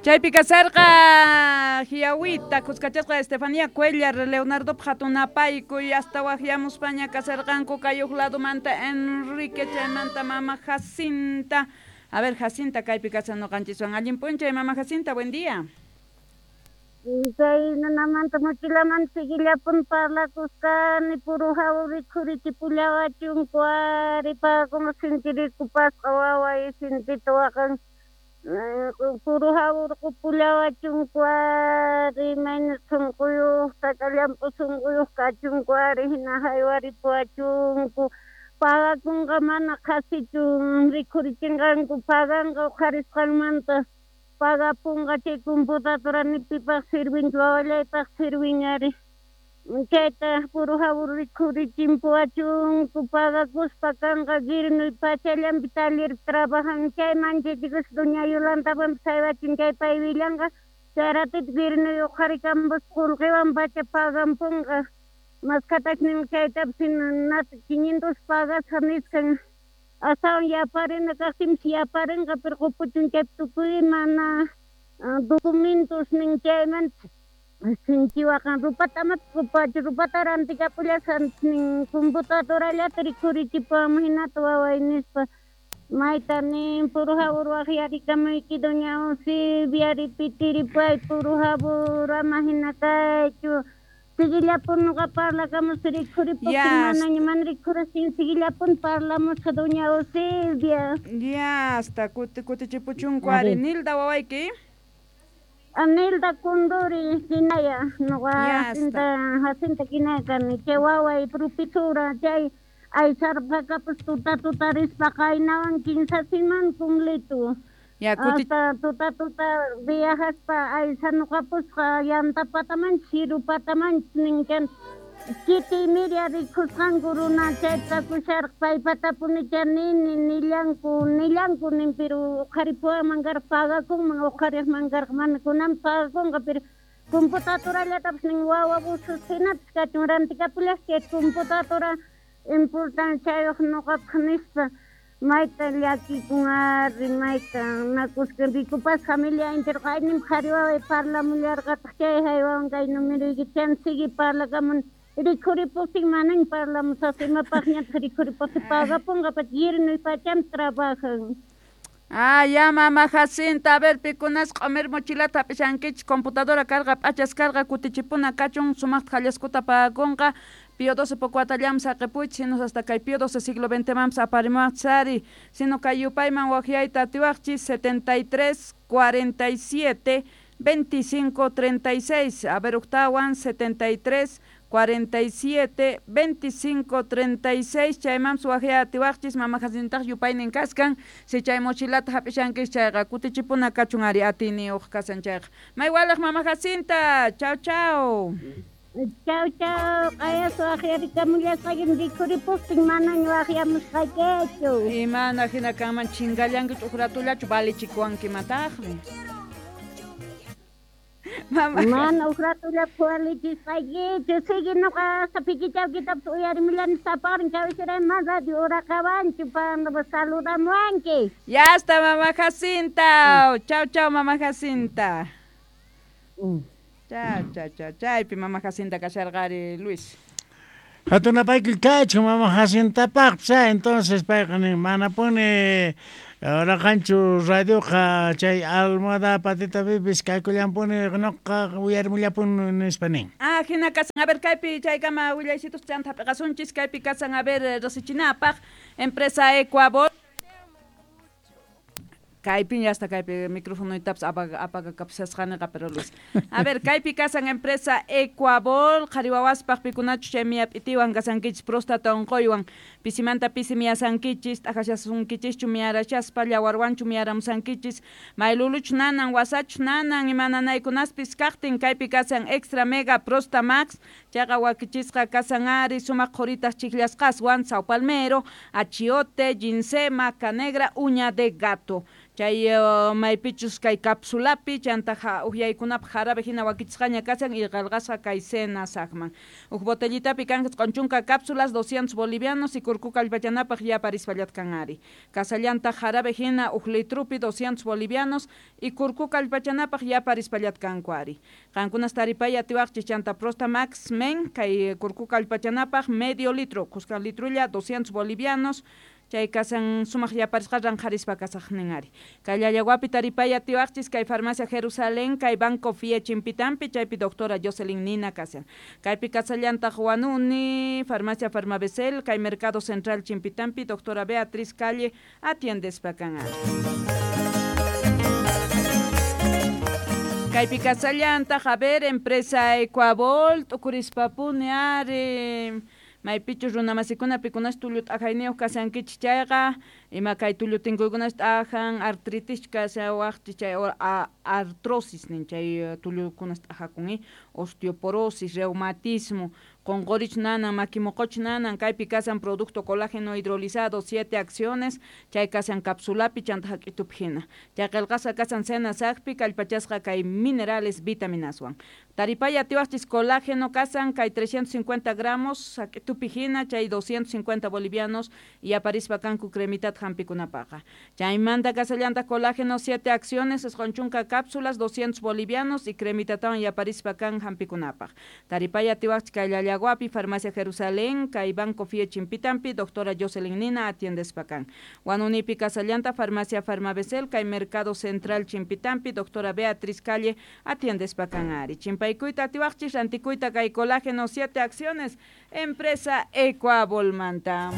Chaypi kasarqa Hiawita, kuskachasqa Estefanía Cuellar, Leonardo hatunapaykuy hasta waqyamuspaña kasarqanku kay huk ladomanta Enrique chaymanta mama Jacinta. A ver, Jacinta kaypi kasan ñuqanchiswan. Allin p'unchay mama Jacinta, buen día. Chay nunamanta mochilamanta seguillapun parlakusqani puro hawa rikhurichipullawachunku ari pagakuna sintirikupasqa waway sintita waqan puro hawurqupullawachunku ari mayna sunquyuq llamp'u sunquyuq kachunku ari hina haywaripuwachunku pagakunqa mana qhasichu rikhurichinqanku paganqa uqharisqanmanta pagapunqa chay computadora ni pipaq sirvinchu wawallaypaq sirvin ari chayta puro hawur rikhurichimpuwachunku pagakuspa kanqa girnuy pachallanpi taller trabajan chay manchachikuspa doña Yolantawanpis haywachin chay pay willanqa chay ratito girnuy uqharikampus qullqiwan pacha pagampunqa maskhatachnin chaytapis hina 500 pagasqa nisqan astawan yaparina kaqtinpis yaparinqa pero qupuchun chaypi tukuy mana documentos nin chaymanta sinchi waqan rupata amapis qupachu rupata rantikapullasqa nin computadorallata rikhurichipuwanman hinata waway nispa mayta nin puro hawur waqyarikamuyki doña Eusebia ripitiripuway puro hawur ama hina kaychu Seguillapun noqa parlakamusqa rikhuripuptin manaña mana rikhurastin seguillapun parlamusqa doña Eusebia. Ya, hasta kutichipuchunku ari. Nilda wawayki. Nilda Condori kinaya noqa Jacinta kinaya kani chay waway propisura chay aysarpaqapas tuta tuta rispa qaynawan kinsa semana completo. Ya, Hasta tuta tuta viajaspa aysanuqapusqa llanta patamanchis chiru patamanchis ninkan chiti media rikhusqanku runa chayta kusharqa paypatapunicha nini nillanku nillanku nin pero uqharipuwanman karqa pagakunman uqhariqman karqa mana kunan pagakunqa pero computadorallatapis nin wawa busus hinapis kachun rantikapullasqa chay computadora importanciayuq nuqapaq nispa mayta llakikun ari mayta nakusqa rikupas familia entero qayninpi qhari waway parlamullarqataq chay haywawan kay numeroyki chan sigui parlakamun rikhuripuptin manaña parlamusaq imapaqñataq rikhuripuptin pagapunqa pacha yernuy pacham trabajan. Ah, ya mama Jacinta, a ver, pikunas q'umir mochilata hap'ishankichis computadora karqa p'achas karqa kutichipuna kachun sumaqta hallaskuta pagakunqa Pío XII pokuatallam saqipuychis sino hasta kay Pío XII siglo XX manpas aparimuwaqchis ari sino kay yupayman waqyayta atiwaqchis 73 47 25 36 a ver uktawan 73 47 25 36 chaymanpas waqyay atiwaqchis mama Jacintaq yupaynin kaskan si chay mochilata hap'ishankis chayqa kutichipuna kachun ari atiyniyuq kasan chayqa maywalaq mama Jacinta chau chau. Chau chau q'ayas waqyarikamullasqaykim rikhuripuptin manaña waqyamusqaykichu. Imana hina kanman chingallankichu uq ratullachu valichikuwankimataqmi. Mama Mana uq ratullapas walichisqaykichu sigui nuqa pikichawkitapas uyarimulani sapaqrin kawsarayman mana radio uraqawanchu saludamuwanki. Ya está mama Jacinta. Chau chau mama Jacinta. Cha cha cha chaypi mama Jacinta kasharqari Luis. Hatunapaykuy kachun mama Jacintapaqpas entonces payqa nin manapuni raqanchu radioqa chay almohada patita pipis kaykullampuni nuqa uyarimullapuni nispa nin. Ah, hina kasan a ver kaypi chaykama willaysitus chanta hap'iqasunchis kaypi kasan a ver riqsichinapaq empresa Ecuabol. Kaypi ya hasta kaypi microfonoytapas apagakapusasqaniqa pero Luis. A ver, kaypi kasan empresa Ecuabol, qhari wawaspaq pikunachus chay miyap'itiwan kasankichis próstata unquywan pisimanta pisi miyasankichis t'aqashasunkichishchu miyarashaspa llawarwanchu miyaramusankichis mayluluchu nanan wasachu nanan ima nanaykunaspis kaqtin kaypi kasan extra mega prosta max chayqa wakichisqa kasan ari sumaq qhuritaq chiqllasqaswan sao palmero, achiote, ginseng, maca negra, uña de gato. Chay maypichus kay capsulapi chanta uhyaykunapaq jarabe hina wakichisqaña kashan y qillqasqa kay SENASACman. Uj botellitapi kan 90 cápsulas 200 bolivianos y kurku kallpachanapaq yaparispallat kan ari. Kasallantaq jarabe hina uj litrupi 200 bolivianos y kurku kallpachanapaq yaparispallat kanku ari. Qankunas taripay atiwaqchis chanta Prostamax Men kay kurku kallpachanapaq medio litro, kuskan litrulla 200 bolivianos. Chay kasan sumaq yaparisqa ranqharispa kasaqnin ari. Kay Llallaguapi taripay atiwaqchis kay Farmacia Jerusalén, kay Banco Fie Chimpitampi, chaypi doctora Jocelyn Nina kasan. Kaypi kasallantaq Huanuni, Farmacia Farmabecel, kay Mercado Central Chimpitampi, doctora Beatriz Calle, atiendespa kan ari. Kaypi kasallantaq, a ver, empresa Ecuabol, t'ukurispapuni ari. Maypichus runamasikuna pikunas tullu t'ajayniyuq kashankichis chayqa, ima kay tullu tinkuykunas t'ajan, artritis kashawaqchis chay artrosis nin chay tullukunas t'ajakun, osteoporosis, reumatismo, qonqorich nanan, makimoqoch nanan, kaypi kasan producto colágeno hidrolizado, 7 acciones, chay kasan capsulapi chanta hak'itupi hina. Chay qillqasqa kasan SENASACpi, kallpachasqa kay minerales vitaminaswan. Taripay atiwaqchis colágeno kasan kay 350 gramos hak'itupi hina, chay 250 bolivianos y aparispa kanku cremitat hampikunapaqa. Chaymanta kasallantaq colágeno 7 acciones, 90 cápsulas, 200 bolivianos y cremitatawan yaparispa kan hampikunapaq. Taripay atiwaqchis kay Llallaguapi, Farmacia Jerusalén, kay Banco Fie Chimpitampi, doctora Jocelyn Nina atiendespa kan. Huanunipi kasallanta, Farmacia Farmabecel, kay Mercado Central Chimpitampi, doctora Beatriz Calle atiendespa kan ari. Chimpaykuyta atiwaqchis, rantikuyta kay colágeno 7 acciones, empresa Ecuabolmanta.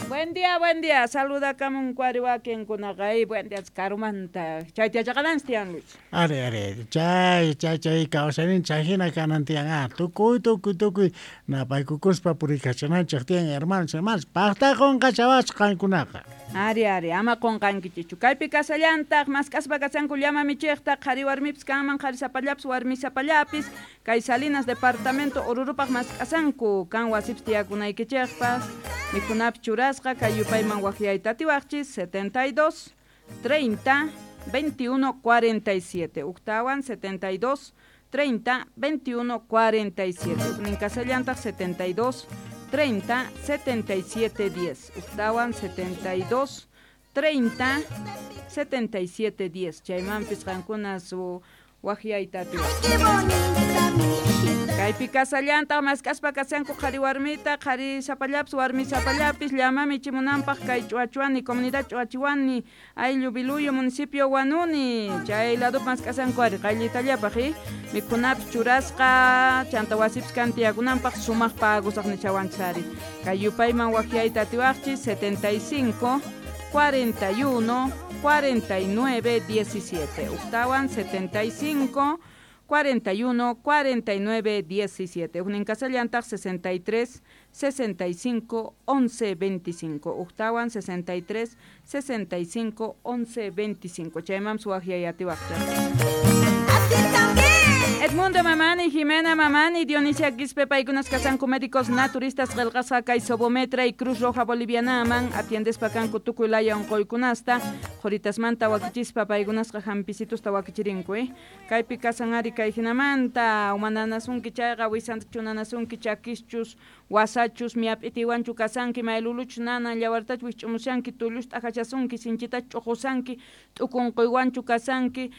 Buen día, buen día. Saluda kamun kuariwakin kunaqay. Buen día, karumanta. Chay tiachaqalanchis tiyan, Luis. Ari, ari. Chay, chay, chay. Kawsaynin chayhina kanan tiyan. Tukuy, tukuy, tukuy. Napaykukuspa purikachananchik tiyan, hermanos, hermanas. Paqta qunqachawasqa qankunaqa. Ari, ari. Ama qunqankichichu. Kaypi kasallantaq, mask'aspa kasanku llama michiqta, qhari warmipis kanman, qhari sapallapis, warmi sapallapis. Kay Salinas departamento Orurupaq mask'asanku. Kan wasipis tiyakunaykichikpas. Mikhunapis churasqa kay yupayman waqyayta atiwaqchis 72 30 21 47. Uktawan 72 30 21 47. Uknin kasallantaq 72 30 77 10. Uktawan 72 30 77 10. Chaymanpis qankuna su waqyayta atiwaqchis. Kaypi kasallantaq mask'aspa kasanku qhari warmita, qhari sapallapis, warmi sapallapis, llama michimunanpaq kay Ch'uachuani, comunidad Ch'uachiwani, ayllu Biluyo, municipio Huanuni, chay ladopi mask'asanku ari qayllitallapaq, mikhunapis churasqa, chanta wasipis kan tiyakunanpaq sumaq pagusaq nichawanchis ari. Kay yupayman waqyayta atiwaqchis 75 41 49 17. Uktawan 75 41 49 17. Ujnin kasallantaq 63 65 11 25. Uktawan 63 65 11 25. Chayman suwaqyay atiwaqchaq. Edmundo Mamani, Jimena Mamani, Dionisia Quispe, paykunas kasanku médicos naturistas qillqasqa kay Sobometra y Cruz Roja Bolivianaman, atiendespa kanku tukuy laya unquykunasta, qhuritasmanta wakichispa paykunasqa hampisitusta wakichirinku, Kaypi kasan ari kay hinamanta, umananasunki chayqa wisanta chunanasunki chakischus, wasachus, miap'itiwanchu kasanki, mayluluchus nanan, llawartachu wisch'umushanki, tullusta t'ajachasunki, sinchitachu ch'uqusanki, t'ukunquywanchu kasanki,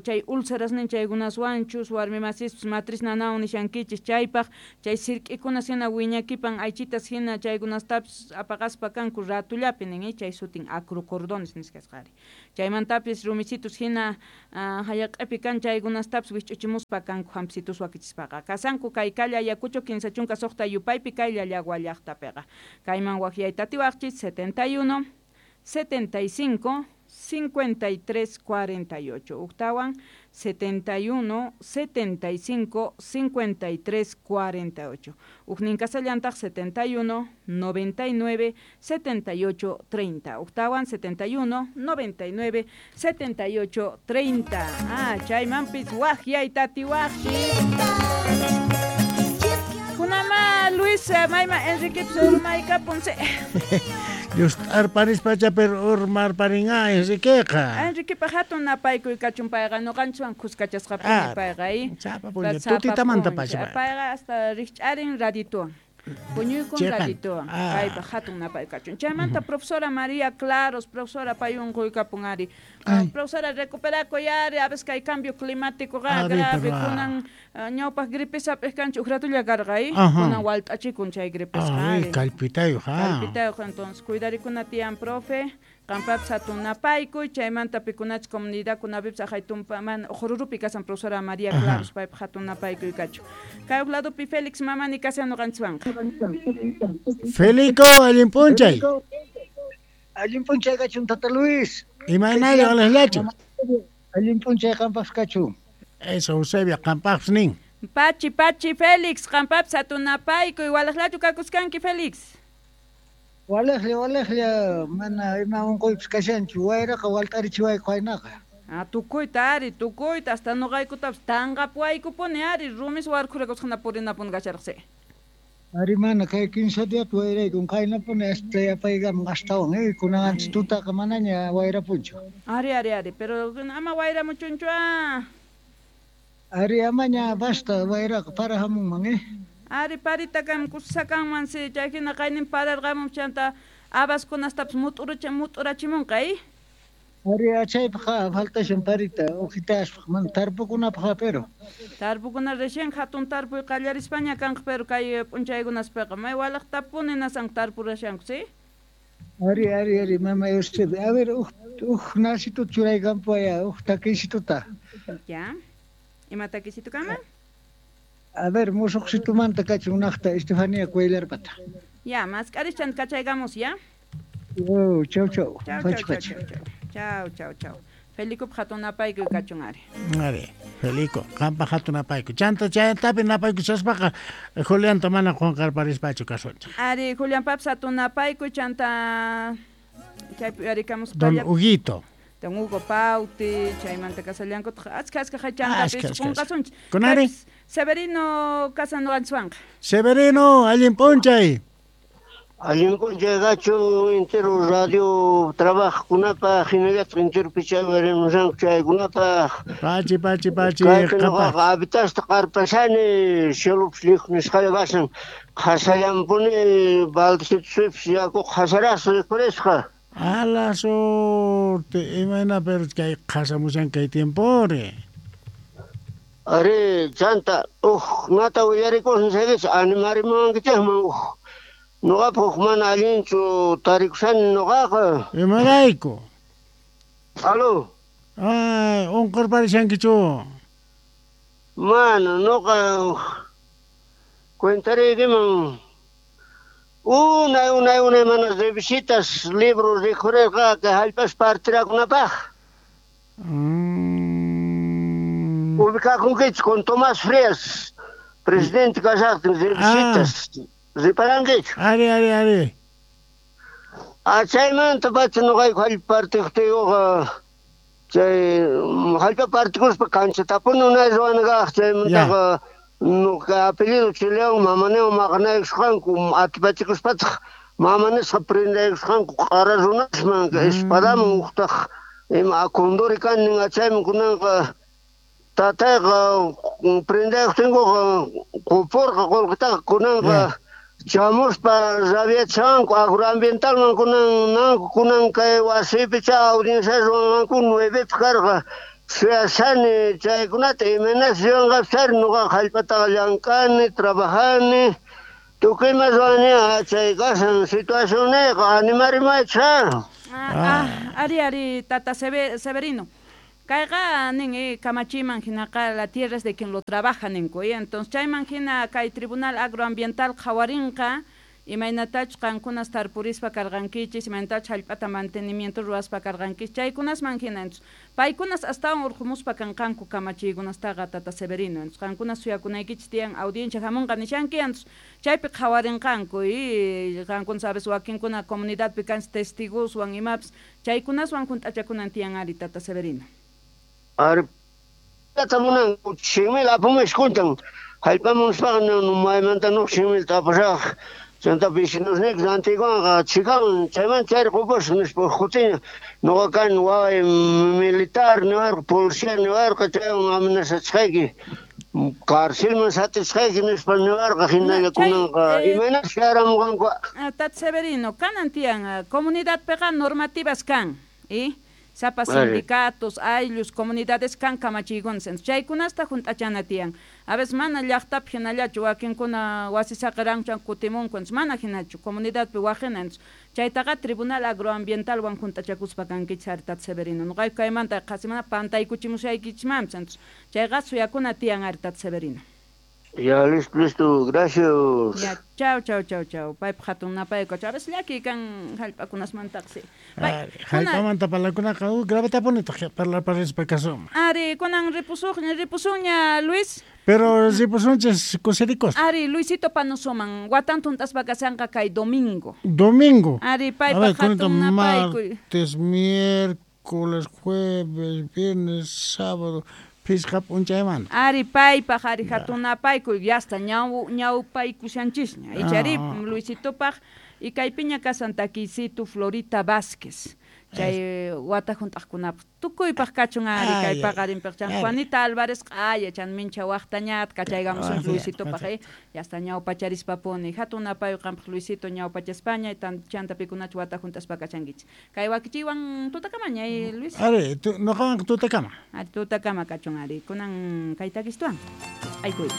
chay úlceras nin chaykunaswanchus, warmi masispis matriz nanawan nishankichis chaypaq, chay sirk'ikunas hina wiñakipan aychitas hina chaykunastapis apaqaspa kanku ratullapi nin, chay sutin acrocordones nisqasqa ari. Chaymantapis rumisitus hina hallaq'api kan chaykunastapis wisch'uchimuspa kanku hampisitus wakichispaqa. Kasanku kay Kalla Ayacucho 56 yupaypi kay Llallagua llaqtapiqa. Kayman waqyayta atiwaqchis 71 75 53 48. Uktawan 71 75 53 48. Ujnin kasallantaq 71 99 78 30. Uktawan 71 99 78 30. Ah, chaymanpis waqyayta atiwaqchis. Kunama Luis Mayma Enrique Psurmayka Ponce. Llust'arparispacha pero urmarparinqa Enriqueqa. Enriquepa hatun napaykuy kachun payqa ñuqanchikwan kuskachasqapuni payqa Sapa p'unchay tutitamanta pacha. Payqa hasta rikch'arin radituwan. Puñuykun radituwan. Paypa hatun napay kachun. Chaymanta profesora María Claros, profesora pay unquykapun ari. Profesora recuperakuy ari, a veces kay cambio climático grave kunan ñawpaq gripes hap'iq kanchik uj ratulla karqa kunan walt'achikun chay gripesqa ari. Kallpitayuq Kallpitayuq entonces cuidarikuna tiyan profe. Qampapis hatun napaykuy, chaymanta pikunachus comunidadkunapipis aqhay tumpa mana Ujururupi kasan profesora María Claros paypaq hatun napaykuy kachun. Kay uj ladopi Félix Mamani kashan ñuqanchikwanqa. Felico, allin p'unchay. Allin p'unchay kachun Tata Luis. Imaynalla walejllachu? Allin p'unchay qampaqpis kachun. Eso Eusebio qampaqpis nin. Pachi, pachi Félix, qampapis hatun napaykuy, walejllachu kakuskanki Félix? Walejlla, walejlla, mana ima unquypis kashanchu, wayraqa walt'arichiwayku qaynaqa. Tukuyta ari, tukuyta, hasta ñuqaykutapis tanqapuwaykupuni ari, rumis warkhurakusqana purinapuni kasharqasi. Ari mana, kay 15 diapi wayraykun qaynapuni hasta yapaykamun astawan, kunan antes tutaqa manaña wayrapunchu. Ari, ari, ari, pero ama wayramuchunchu Ari amaña basta wayraqa para hamunman Ari parita kam kusakanman si chayhina qaynin pararqamun chanta habaskunastapis mut'urachimunqa Ari achaypaq faltashan parita uqitaspaq mana tarpukunapaq pero. Tarpukuna recién hatun tarpuy qallarispaña kanqa pero kay p'unchaykunaspiqa may walaqtapuni nasanku tarpurashanku si Ari ari ari mama Eusebio, a ver uj nasituta churaykampuwaya uj takisituta. Ya. Ima takisitu kanman? A ver, musuqsitumanta kachun naqta Estefanía Cuellarpata. Ya, mask'aris chanta kachaykamus, ya? Oh, chau chau. Chau chau chau chau. Chau chau chau. Felico hatun napaykuy kachun ari. Ari, Felico, qampa hatun napaykuy. Chanta chaytapi napaykushaspaqa Julianta mana qunqarparispachu kasunchik. Ari, Julián papis hatun napaykuy chanta chaypi uyarikamuspa. Don Huguito. Don Hugo Pauti, chaymanta kasallankutaq achka achka chantapis qunqasunchik. Kunari? Severino kasan ñuqanchikwanqa. Severino, allin p'unchay. Allin p'unchay kachun entero radio trabajkunapaq hinallataq entero pichaywarinmusanku chaykunapaq. Pachi, pachi, pachi. Kaypi ñuqaqa habitasta qarpashani cielopis lijo nisqalla kashan qhasallampuni baldecitusipis yakuqa qhasarasqa rikhurisqa. A la suerte, imayna pero kay qhasamushan kay tiempori. Ari, chanta, uj nata willarikushan chaykichik animarimuwankichikman uj ñuqapaq uj mana allinchu tarikushani ñuqaqa. Imarayku? Aló. Ay, unqurparishankichu? Mana, ñuqa cuentariykiman unay unay unay mana revisitas libros rikhurirqa kay hallp'as partirakunapaq. Ubicakunkichik con Tomás Frías, presidente kashaqtin revisitas. Riparankichu? Ari, ari, ari. Chaymanta pacha ñuqayku hallp'a partiqtiyuqa chay hallp'a partikuspa kanchatapuni unay ruwana kaq chaymantaqa nuqa apellido Chilewan mamaniwan maqanaykusqanku atipachikuspataq mamanisqa prendaykusqanku q'ara runasman espadaman uqtaq ima akunduri kanin chayman kunanqa tatayqa prendaykuqtinkuqa qupurqa qullqitaqa kunanqa chamuspa rabiachanku agroambientalman kunan nanku kunan kay wasipi cha audiencia ruwanqanku 9 karqa suyashani chaykunata imaynas ruwanqapis ari ñuqaqa hallp'ataqa llank'ani trabajani tukuy ima ruwani chay kashan situacionniyqa animarimaychik. Ari ari tata Severino. Kayqa nin kamachiman hinaqa la tierra es de quien lo trabaja ninku entonces chayman hina kay tribunal agroambiental qhawarinqa imaynatachus qankunas tarpurispa karqankichis imaynatachus hallp'ata mantenimiento ruwaspa karqankichis chaykunasman hina entonces paykunas astawan urqumuspa kanqanku kamachiykunastaqa tata Severino entonces qankunas suyakunaykichis tiyan audiencia hamunqa nishanki entonces chaypi qhawarinqanku y qankunas a veces wakinkuna comunidadpi kanchis testigoswan imapis chaykunaswan hunt'achakunan tiyan ari tata Severino. Ari munanku 100,000 apamush kuntan hallp'aman nispaqa maymanta nuq 100,000 apasaq Chanta vecinosniyki rantiykuwanqa chhikan chayman chayri qupasaq nispa uj kutiña noqa kani waway militar niwarqa policía niwarqa chaywan amenazachqayki carcelman satisqayki nispa niwarqa hinalla kunanqa imaynas chayaramunqanku. Tata Severino, kanan tiyan comunidadpiqa normativas kan, y sapa sindicatos, ayllus, comunidades kan kamachiykuna, chaykunasta junt'achana tiyan. A veces mana llaqtapi hinallachu wakinkuna wasi saqiranku kutimunku, mana hinachu comunidadpi waqina, chaytaqa tribunal agroambientalwan junt'achakuspa kankichis ari Tata Severino. Noqayku kaymanta qhasi mana pantaykuchimushaykichmanpis, chayqa suyakuna tiyan ari Tata Severino. Ya, listo, listo, gracias. Ya, chau, chau, chau, chau. Paypaq hatun napayku. A veces llakiy kan hallp'akunasmantaqsi. Hallp'amanta parlakunaqa gravetapuni parlaparispa kasunman. Ari, kunan ripusunña, Luis. Pero ripusunchis kusirikuspa. Ari, Luisito Panosoman, watan tunt'aspa kashanqa kay domingo. Domingo. Ari, paypaq hatun napaykuy. Martes, miércoles, jueves, viernes, sábado. Pisqa p'unchaymanta. Ari, paypaq, ari, hatun napaykuy, yasta ñawpaykushanchisña. Ichari, Luisitopaq, y kaypiña kasan takiysitu Florita Vázquez. Chay wata junt'aqkunapaq tukuypaq kachun ari kay paqarinpaq chan Juanita Álvarez q'aya chan mincha waqtañat kachaygamusun Luisitopaq yasta ñawpacharispapuni hatun napayuy qampaq Luisito ñawpachaspaña chanta pikunachu wata junt'aspa kachankichis kay wakichiywan tutakamaña Luis. Ari noqawanqa tutakama. Ari tutakama kachun ari kunan kay takistuwan aykuy.